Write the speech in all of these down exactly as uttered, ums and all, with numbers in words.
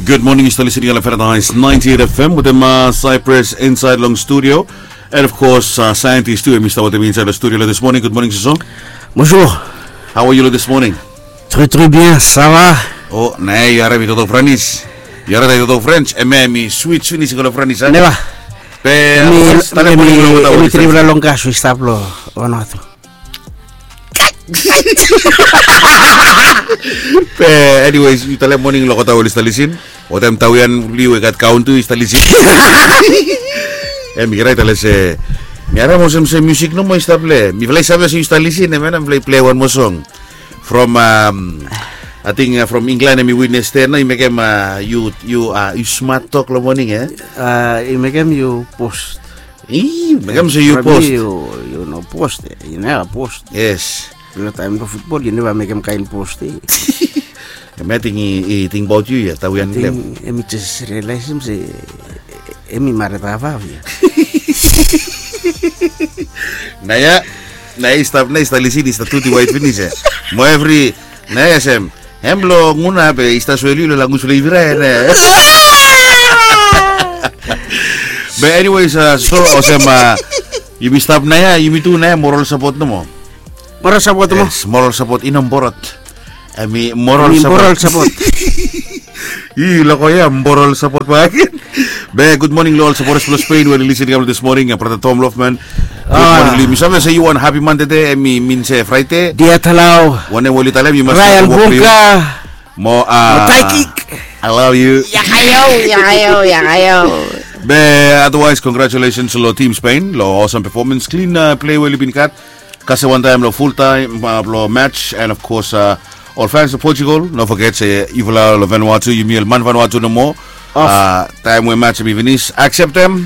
Good morning, yu stap listening long Paradise ninety-eight F M wetem Cyprus inside long studio. And of course, uh, scientist tu, em i stap wetem mi inside long studio this morning. Good morning, Suso. Bonjour. How are you this morning? Très, très bien, ça va? O, nae, yu harim mi toktok French? Yu harim mi toktok French? Em, em i switch finis i go long French, a? Neva. Be, mi, mi, mi, mi trip long gas, wi stap long Vanuatu. Be, anyways, yu talem moning long olgeta we oli stap lisin. Olgeta tawian blo yu we gat kaun tu i stap lisin. Em i rait, ale se mi harim olsem se musik nomo i stap plei. Mifala i save se yu stap lisin, em, em, mifala i plei wan moa song. From, um, ating, uh, from England, em i witness ten, no, i mekem, uh, yu, yu, uh, yu smat tok long moning, e? Uh, i mekem yu post. I mekem se yu post. Yu, yu no post, e? Yu neva post. Yes. Long taem blong futbol yu neva mekem kaen post, e? Em ating i, i tingbaot yu ia, tawian blong em. Em i jes rialaesem se em i mared hafhaf ia. Naia, naia i stap, naia i stap lisin, i stap tuti waet finis ia. Mo evri, naia sem, hem blong Guna be i stap soel yu long language blong Ivirae, naia. Be anyways, uh, so olsem, uh, yumi stap naia, yumi tu naia moral support nomo. Moral support nomo. Yes, moral support, i no borot. Em i moral support. I loko ia moral support bakegen. Be good morning long ol supporters blong Spain we oli lisin kam this morning, uh, brata Tom Lofman. Good morning long yu. Mi save se yu wan happy Monday, em i min se Friday. Dia Talau. Wanem we oli talem, yu mas Ryan Bunka. Mo, uh, Taikik. I love you. Ia kaio, ia kaio, ia kaio. Be otherwise, congratulations long Team Spain long awesome performance, clean, uh, play we oli bin gat. Kasem wantaem long full time, uh, blong match, and of course, uh, ol fans blong Portugal, no foget se yufala long Vanuatu, yumi ol man Vanuatu nomo. Uh, taem we match em i finis, akseptem.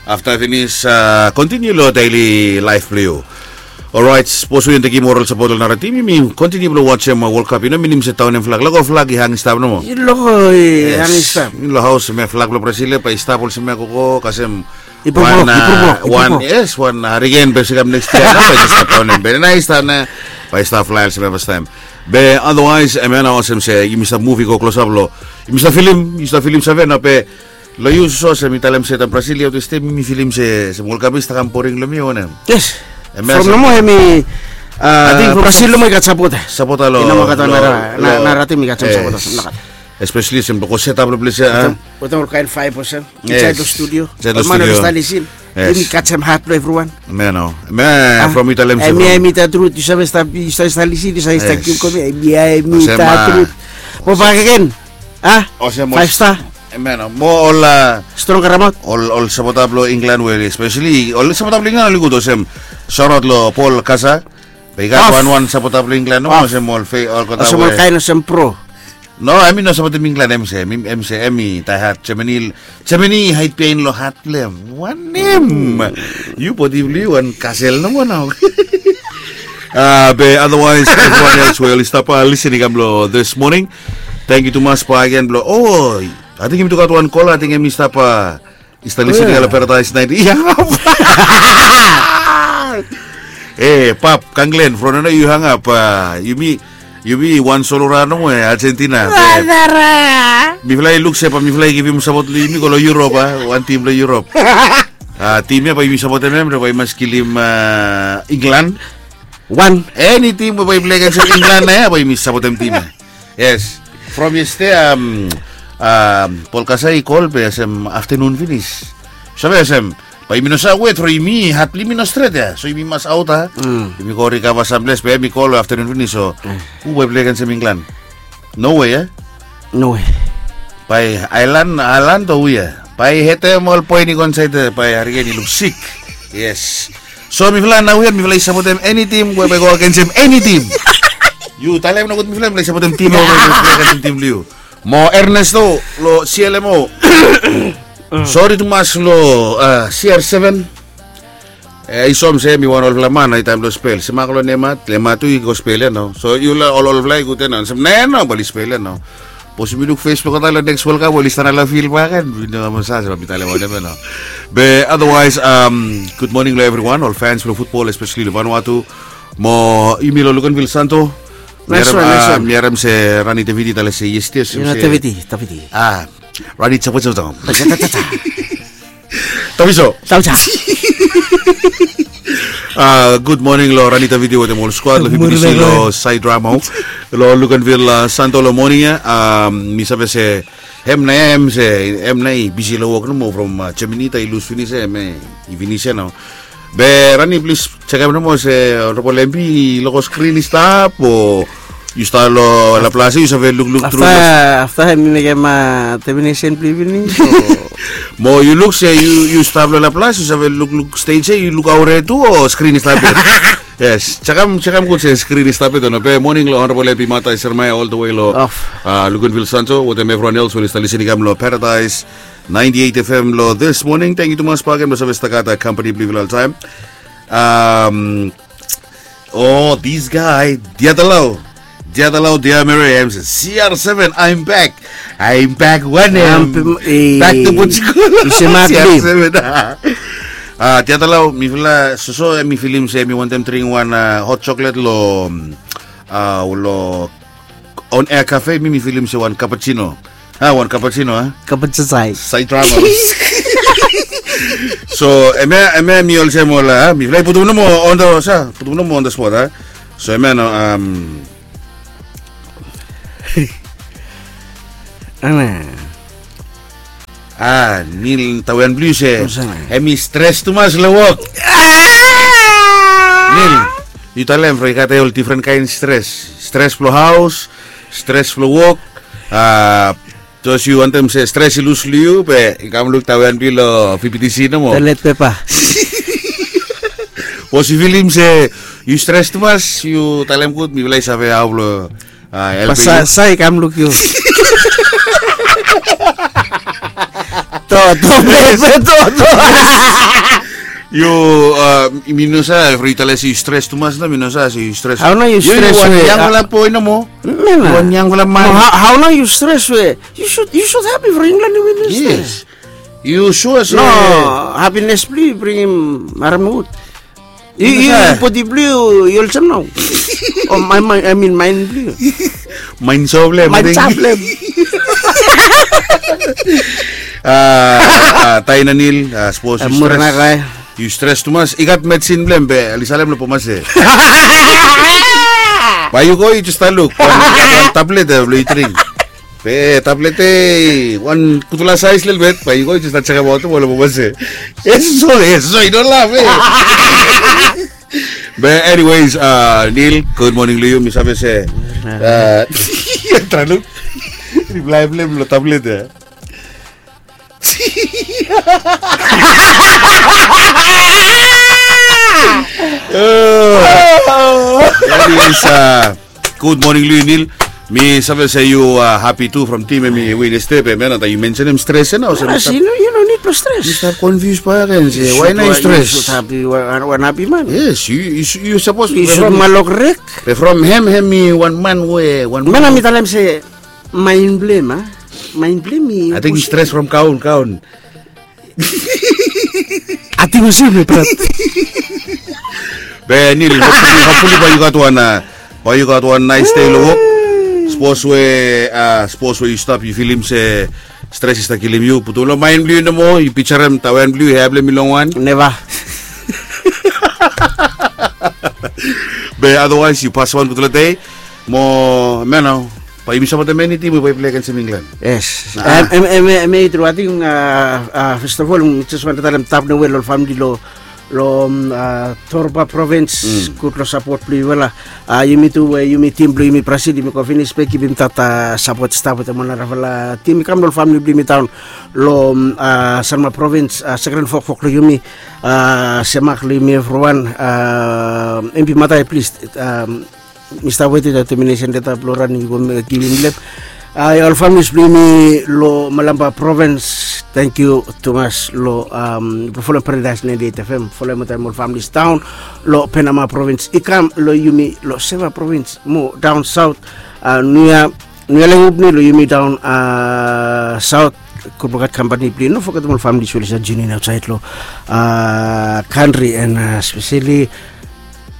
Afta finis, uh, kontiniu long daily laef blong yu. Orait, sapos yu tekem moral sapot long nara tim, yumi kontiniu blong wajem, uh, World Cup. I no minim se daonem flag. Loko flag i hang i stap nomo. I loko i hang i stap. Long haos, em flag blong Brazil ia bae i stap olsem ia, gogo kasem. I purplok, i purplok, i purplok. Yes, wan hariken bae i kam next yia, nao bae i stap daonem, be naia i stap, naia bae i stap flae olsem ia fastaem. Be otherwise, em ia nao olsem se yumi stap muv i go klosap long, yumi stap filim, yu stap filim save nao be long yu, Suso, olsem mi talem se taem Brazil i aot yestede, mi filim se, se World Cup i stap kam boring long mi o wanem. Yes. From nomo hemi, uh, Brazil nomo i gat sapota. Sapota long, i no moa gat wan nara, nara tim i gat sam sapota. Especially olsem blong go set up long ples ia, a? Wetem ol kaen faef olsem insaed long studio. Ol man oli stap lisin. Yumi gat sam hat blong evriwan. Em ia nao. Em ia, from yu talem se, em ia, em i tatrut. Yu save stap, yu save stap lisin, yu save stap givim komi. Em ia, em i tatrut. Mo bakegen, a? Olsem ol faef sta. Em ia nao. Mo ol, a, strong karamaot. Ol, ol sapota blong England we, especially ol sapota blong England oli gud, olsem. Sorot long Paul Kasa. Be i gat wanwan sapota blong England nomo, olsem ol fe, olgeta we, olsem ol kaen olsem pro. No, em i no sapotem England, em se, em, em se, em i daehat Germany. Germany i haed biaen long hat blong em. Wanem? Yu bodi blong yu wan kasel nomo nao. Uh, be otherwise, evriwan else we oli stap, uh, lisin i kam long this morning. Tangkiu tumas bakegen blong, o, ating yumi tu gat wan kola, ating hemi stap, uh, i stap lisin i kam long Paradise ninety. Ia. E, Pap Kanglen, from nao yu hangap, uh, yumi, yumi wan solora nomo, e, Argentina. Mifala i luk se bae mifala i givim sapot long yumi go long Europe, a, wan tim long Europe. A, tim ia bae yumi sapotem hem, bae i mas kilim, uh, England. Wan. Eni tim we bae i plei agensem England ia, bae yumi sapotem tim ia. Yes. From yestede, um, um, Paul Kasa i kol be olsem aftenun finis. Save olsem, bae yumi no save wet from yumi hat blong yumi no stret ia. So yumi mas aot, a? Yumi go rikava samples be hem i kol aftenun finis, so hu bae i plei agensem England? No way, e? No way. Bae Ireland, Ireland o hu ia? Bae i hetem ol poen i go insaed ia, bae hariken i luk sik. Yes. So mifala naoia mifala i sapotem eni tim we bae i go agensem eni tim. Yu talem nogud mifala, mifala i sapotem tim we bae i go agensem tim blong yu. Mo Ernesto long C L M O. Sori tumas long, uh, C R seven. E, i som se mi wan olfala man, i taem blong spel. Simak long Nemat, Nemat tu i go spel ia nao. So yu la ol, olfala i gud ia nao. Sem naia nao bae oli spel ia nao. Sapos yumi luk Facebook, olgeta long next World Cup oli stap long field bakegen. Mi no mas save se bae mi talem wanem ia nao. Be otherwise, um, good morning long evriwan, ol fans blong futbol, especially long Vanuatu. Mo yumi long Luganville Santo. Nice one, nice one. Mi harim se Rani Taviti tale se yes yes. Ina Taviti, Taviti. Ah, Rani Taviti. Taviti. Taviti. Ah, good morning lo Rani Taviti wetem ol squad lo F B C lo Side Drama. Lo Luganville, ah, Santo lo morning ya. Ah, mi save se hem na hem se hem na i bisi lo wok nomo from, ah, Germany ta i lus finis ya, hem i finis ya nao. Be Rani, plis jekem nomo se Honorable M P i loko skrin i stap o yu stap lo Laplace yu save lukluk tru. Afta mi mekem, ah, termination plea finis. Mo yu luk se yu stap lo Laplace yu save lukluk stage ya yu luk aure tu o skrin i stap ya. Yes, jekem, jekem gud se skrin i stap ya o no. Be morning lo Honorable M P Martha Jeremiah all the way lo, ah, Luganville Santo wetem everyone else we oli stap lisening kam lo Paradise ninety-eight F M lo this morning. Thank you tumas bakegen blo save stap gat, ah, company blo yufala oltaem. Um, oh, this guy, Diatalau. Diatalau, Diamere, em se, C R seven, I'm back. I'm back wanem? Back to Pochikolo. C R seven. Ah, Diatalau, mifala soso, eh, mi filim se mi wantem dring wan, ah, hot chocolate lo, ah, lo On Air Cafe, mi, mi filim se wan cappuccino. Ah, wan cappuccino, ah? Cappuccino. Side Drama. So, hemia, hemia mi olsem ol, ah, mifala i putum nomo on the, sa, putum nomo on the spot, ah? So, hemia no, um, Ana. Ah, Nil, tawen blu yu se. Hem i stres tumas lo wok. Nil, yu talem from i gat ol difren kaen stres. Stres blo haos, stres blo wok. Ah, sapos yu wantem se stres i lus lo yu be i kam luk tawen blu yu lo P P T C nomo. Toilet paper. Sapos yu filim se yu stres tumas, yu talem gud, mifala i save hao blo Ah, helpem yu. Sa i kam luk yu. To, to, to, to. Yu, ah, mi no save, from yu talem se yu stres tumas nao, mi no save se yu stres. Hao nao yu stres we wan yangfala boe nomo. Wan yangfala man. Hao nao yu stres we yu should, yu should happy from England i win. Yes. Yu sua se no, hapines blu yu bringim harem wud. Yu, yu, bodi blu yu, yu olsem nao. O, maen, maen, I mean, maen blu yu. Maen soblem. Maen soblem. Ah, ah, Taina Nil, ah, sapos yu stres. Yu stres tumas, i gat medsin blong hem be oli salem lo Bomas ya. Bae yu go yu jes stap luk. Wan, wan tablet ya blo yu dring. Be tablet ya, wan gudfala saes lelebet, bae yu go yu jes stap jekemaot mo lo Bomas ya. Eso, eso, i no laf, eh. Be anyways, ah, Nil, gud moning lo yu, mi save se, ah, trae luk riplae blong hem lo tablet ya. Oh. That is, uh, gud moning lo yu, Nil. Mi save se yu, uh, hapi tu from tim hemi win stap, hemia nao taem yu mensenem stres ya nao. Yu no nid blong stres. Mi stap konfius bakegen se wae nao yu stres. Yu sud hapi, wan hapi man. Yes, yu, yu sapos. Yu sud malok rek. Be from hem, hemi wan man we wan man. Man hemi talem se maen blong hem, a? Maen blong hem i. Ating yu stres from kaon, kaon. Ating olsem, brat. Be Nil, hopefully, hopefully bae yu gat wan, ah, bae yu gat wan naes dei lo wok. Sapos we, ah, sapos we yu stap yu filim se stres i stap kilim yu, putum lo maen blo yu nomo, yu pijorem tawen blo yu, hea blo hem i longwan. Neva. Be otherwise yu pasem wan gudfala dei. Mo hemia nao, bae yumi sapotem eni tim we bae i plei agensem England. Yes. Hemia i tru. Ating, ah, first of all mi jes wantem talem tap nowe lo ol famili lo, lo, ah, Torba Provins. Gud lo sapot blo yufala. Ah, yumi tu we yumi tim blo yumi Brazil yumi go finis be givim dat, ah, sapot i stap wetem ol narafala tim i kam lo ol famili blo yumi daon lo, ah, Sanma Provins, ah, sekren fokfok lo yumi, ah, semak lo yumi evriwan, ah, M P Matai plis, ah, mi stap wetem determination leta blo ran i go givim long hem. Ah, ol familis blo yumi lo Malampa Provins, tangkiu tumas lo, am, blo folem Paradise ninety-eight F M, folem wantaem ol familis daon lo Penama Provins i kam lo yumi lo Seva Provins mo daon saot, ah, Nuya, Nuya Lengupni lo yumi daon, ah, saot. Gud blo gat kampani blo yu. No fogetem ol familis we oli save tiun in aotsaed lo, ah, kantri and, ah, speseli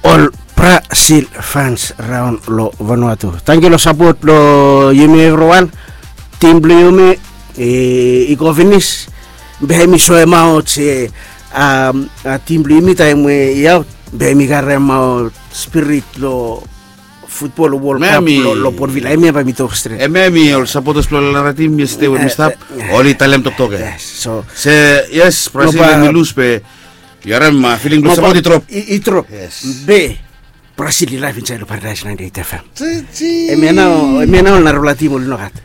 ol bra Brazil fans raon long Vanuatu. Tangkiu long sapot blong yumi evriwan. Tim blong yumi i go finis. Be mi soemaot se tim blong yumi taem we i aot be mi karemaot spirit long futbol World Cup long Port Vila. Hemia bae mi tok stret. Hemia mi ol sapotas blong ol nara tim yestede we mi stap oli talem toktok ya. Se yes, Brazil hemi lus be yu harem filing blong sapot i drop. I drop. Be Brazil i laef insaed long Paradise ninety-eight F M. Hemia nao ol narafala tim oli nogat.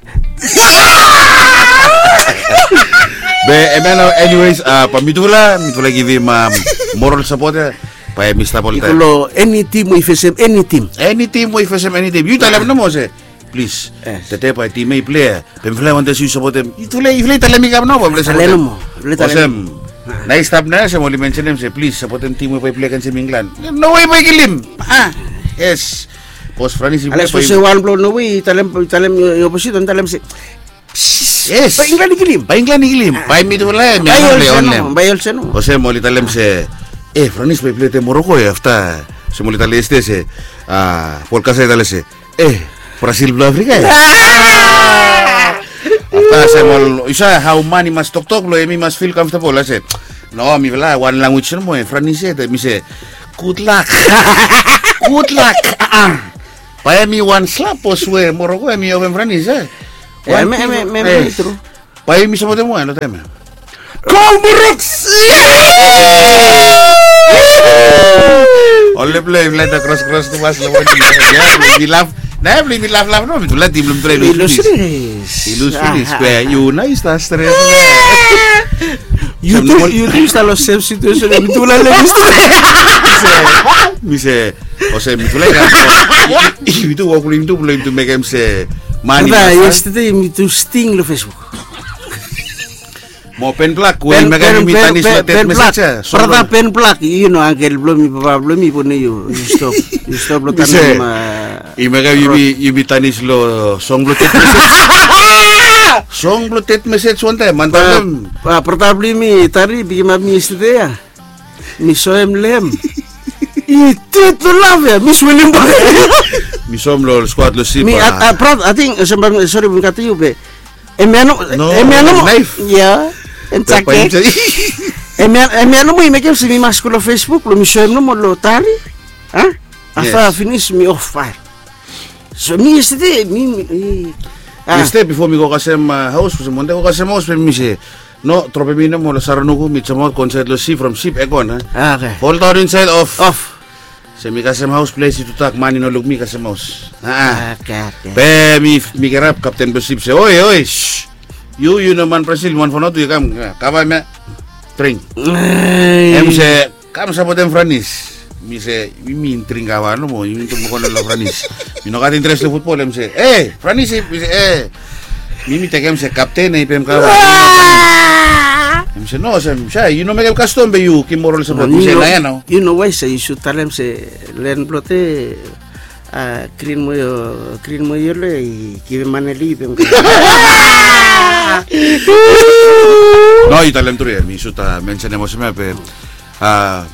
Be hemia nao anyways, bae mitufala mitufala givim moral sapot ya. Bae mi stap oltaem. Eni tim we i fesem eni tim. Eni tim we i fesem eni tim yu talem nomo se plis. Tede bae tim ya i plei ya be mifala i wantem se yu sapotem. Yufala i talem i kam nao bae mifala i sapotem. Olsem nao i stap nao ya olsem oli mensenem se plis sapotem tim we bae i plei agensim Inglan. No wei bae i kilim. Yes. Bos Franis i plei bae i. Wan blong no wei i talem i oposit on talem se yes bae Inglan i kilim. Bae Inglan i kilim bae mitufala ya mi anaple onlem. Olsem oli talem se e Franis bae i plei wetem Moroko ya afta olsem oli talem yestede se Polkasa i talem se e Brazil blong Afrika ya. Afta olsem ol yu save hao man i mas toktok blong hem i mas fil kamftabol a se no mifala wan lanwis nomo e Franis ya. Mi se gud lak. Gud lak. Bae hem i wan slap bos we Moroko hem i ofem Franis ya. Bae yumi sapotem wan long taem ya. Kol Muruk. Ol lepla i blenda kroskros tumas long moning ya. Blong yumi laflaf no mitufala tim blong mitufala i lus finis. I lus finis be yu nao yu stap stret. Yu tu yu stap long sem situesen we mitufala lem i stret. Mi se olsem mitufala i kam. Yumi tu wok blong yumi tu blong yumi tu mekem se mani. Yestede yumi tu sting long Facebook. Mo Ben Black we i mekem yumi tanis long tet mesej ya. Brata Ben Black yu no angkel blong mi papa blong mi pone yu yu stop. Yu stop long tanis. I mekem yumi tanis long song blong tet mesej. Song blong tet mesej wantaem man taem. Brata blong yumi Tari i pikimap mi yestede ya. Mi soem long hem. I tet long laf ya mi swelim bak. Mi soem long ol skuat long sip. Brata ating olsem bae mi sori bae mi katem yu be. Hemia nomo. Ya. Hem jaket. Hemia nomo i mekem se mi mas go long Facebook blong mi soem nomo long Tari. Afta finis mi of fael. So mi yestede mi. Yestede bifo mi go kasem haos olsem wante go kasem haos be mi se no dropem mi nomo long Saranuku mi jamaot go insaed long sip from sip ekon a. Foldaon insaed of. Se mi kasem haos ples i tudak man i no luk mi kasem haos. Be mi kirap kapten blong sip se oi oi yu yu no man Brazil man Vanuatu yu kam kavaem ya. Dring. Hem se kam sapotem Franis. Mi se yumi dring kava nomo yumi tu mokona long Franis. Mi no gat interes long futbol hem se e Franis mi se e mi mi tekem se kapten i pem kava. Hem se no olsem sa yu no mekem kastom be yu givim moral sapot mi se nao ya nao. Yu no wae se yu sud talem se len blong te grin moa grin moa yelo i givim maneli i pem kava. No yu talem tru ya mi sud mensenem olsem ya be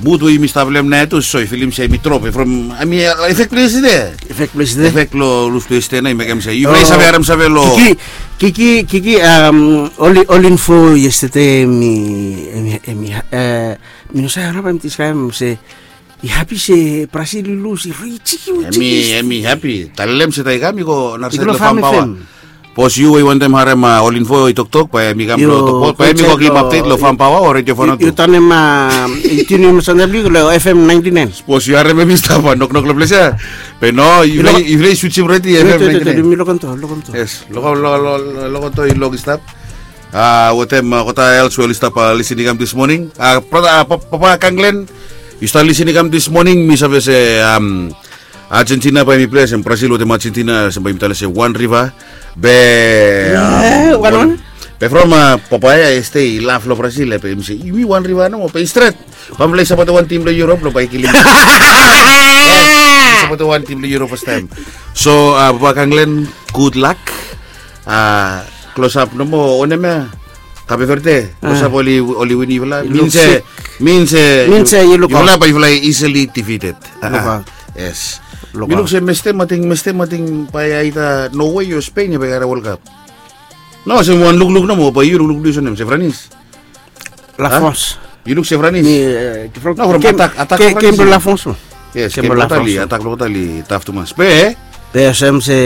mud we yumi stap long hem nao ya tu so i filim se mi drop from hemi efek blong yestede. Efek blong yestede. Efek long lus blong yestede nao i mekem se yufala i save harem save long kiki kiki kiki ol info yestede hemi hemi hemi mi no save harap hemi diskraebem se i hapi se Brazil i lus i riji. Hemi hemi hapi talem se taem i kam i go narasaed long fam paoa. Bos yu we i wantem harem ol info i toktok bae mi kam long toktok bae mi go givim apdet long fam paoa o redio Vanuatu. Yu tanem yu tiunim sanda blong yu long FM ninety nine. Bos yu harem em i stap noknok long ples ya. Be no yufala i switsim redi FM ninety nine. Mi lokonto lokonto. Yes lokonto i long i stap. Wetem kota els we oli stap lisin i kam dis moning. Brata papa Kanglen, yu stap lisin i kam dis moning mi save se Argentina bae mi plei olsem Brazil wetem Argentina olsem bae mi talem se wan riva. Be be from papa ya este i laf long Brazil ya be mi se yumi wan riva nomo be i stret. Bamfala i sapotem wan tim blong Europe long bae i kilim. Sapotem wan tim blong Europe fastaem. So papa Kanglen, gud lak. Klosap nomo wanem ya? Kape Verde klosap oli win yufala. Min se min se yufala bae yufala i easily defeated. Yes. Mi luk se Mestem ating, Mestem ating bae aita Norway o Spain ia bae i harim World Cup. No, olsem wan lukluk nomo, bae yu lukluk blo yu olsem Sefranis. Lafons. Yu luk Sefranis. Mi, eh, from, no, from atak, atak, kem blo Lafons. Yes, kem blo Lafons. Atak blo Tali taf tumas. Be, be olsem se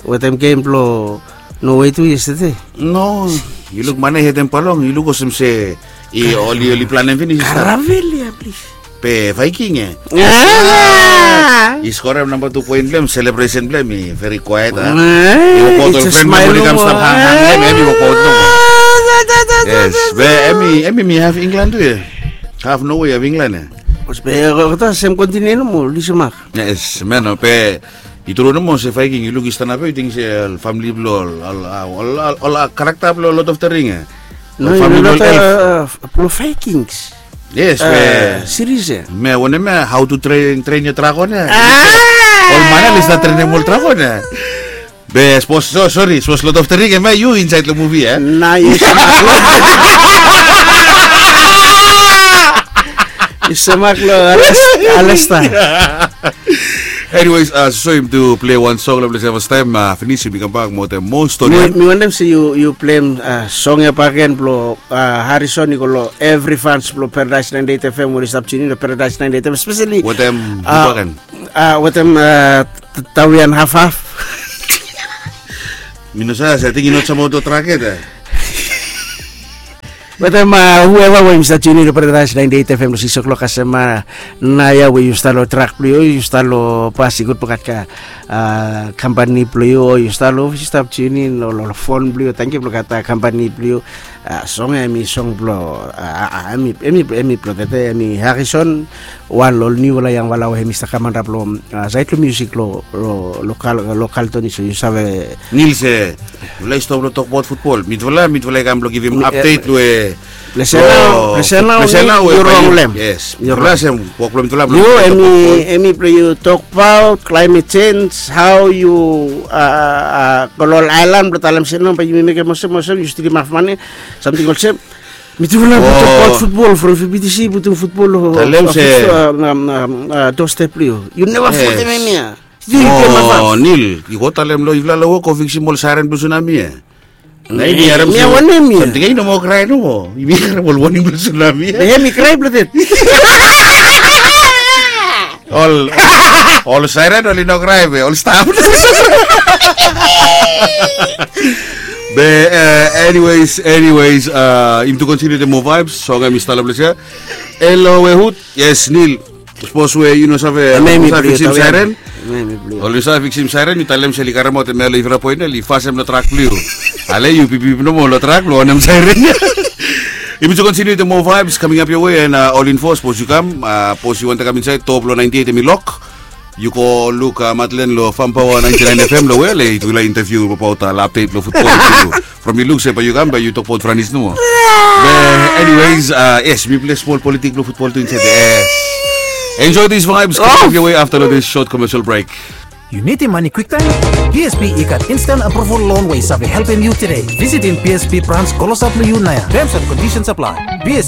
wetem gem blo Norway tu yestede. No, yu luk mane hetem palong, yu luk olsem se i oli, oli planem finis. Karavel ia, plis. Be Viking, eh? I skorem namba tu poen blo hem, selebresen blo hem i veri kwaet, a? I wokbaot ol fren blo hem oli kam stap hanghang long hem, hem i wokbaot nomo. Yes, be hem i, hem i mi haf Inglan tu ia. Haf Norway, haf Inglan ia. Be olgeta sem kontinen nomo, oli semak. Yes, man, be i tru nomo se Viking, yu luk i stanap ia, yu ting se ol famle blo ol, ol karakta blo Lord of the Ring ia. No, ol famle blo ol elf. Blo Vikings. Yes, be siris ia. Me wanem ia, How to Train, Train Your Dragon ia. Ol man ia oli stat trenem ol dragon ia. Be sapos, so, sori, sapos Lord of the Ring, hemia yu insaed long muvi ia. Na yu semak long, yu semak long Alesta. Anyways, soso yumi tu plei wan song long ples ia fastaem, finis yumi kambak mo wetem moa stori. Mi wantem se yu, yu pleim song ia bakegen blo Harrison i go long evri fans blo Paradise ninety-eight F M we oli stap tiunin long Paradise ninety-eight F M, espeseli wetem, wetem Tawian Hafhaf. Mi no save, se ating i no save moa trak yet. Wetem hueva we yumi stap tiunin long Paradise ninety-eight F M long sikis o'clock kasem, naoia we yu stap long trak blo yu, yu stap long bas i gud blo gat kampani blo yu, o yu stap long ofis yu stap tiunin long fon blo yu, tangkiu blo gat kampani blo yu. Song ia hemi song blo, hemi, hemi blo tede, hemi Harrison, wan long ol niufala yangfala we hemi stap kam antap long saed long miusik long, long Carlton, so yu save. Nil, se mifala i stop long tokbaot futbol. Mifala, mifala i kam blong givim apdet we ples ia nao, ples ia nao yu rong long hem. Yes. Yu rong. Mifala olsem wok blong mifala blong yu, hemi blong yu tokbaot climate change, hao yu go long ol aelan blong talem se nao bae yumi mekem olsem, olsem yu stilim haf mane, samting olsem. Mitufala blong tokbaot futbol from F B T C, putum futbol long, talem se, dostep blong yu. Yu neva fotem hemia. Nil, yu go talem long yufala long wok go fiksim ol saeren blong sunami ia. Na yumi harem, mi wanem ia? Samting ia i no moa krae nomo. Yumi harem ol wanem blong sunami ia. Be hemi krae blong det. Ol, ol saeren oli no krae be ol stap. Be, anyways, anyways, yumi tu kontiniu wetem moa vibes. Song hemi stap long ples ia. Helo, we hud? Yes, Nil. Sapos we yu no save, hemi blong yu, fiksim saeren. Oli save fiksim saeren, yu talem se oli karemaot hemia long yufala poen ia, oli fasem long trak blong yu. Ale yu pipip nomo long trak blong wanem saeren ia. Yumi tu kontiniu wetem moa vibes coming up your way, and ol info, sapos yu kam, sapos yu wantem kam insaed, doa blong ninety-eight hemi lok. Yu go luk Madeleine long Farm Power ninety-nine F M long we oli givim yufala interview abaot ol apdet blong futbol tu. From yu luk se bae yu kam bae yu tokbaot Franis nomo. Be anyways, yes, mi plei smol politik blong futbol tu insaed. Enjoy these vibes coming up your way after this short commercial break. Yu nidim mane kwiktaem? B S P i gat instant approval loan we i save helpem yu tede. Visitim B S P brans klosap long yu naoia. Terms and conditions apply. B S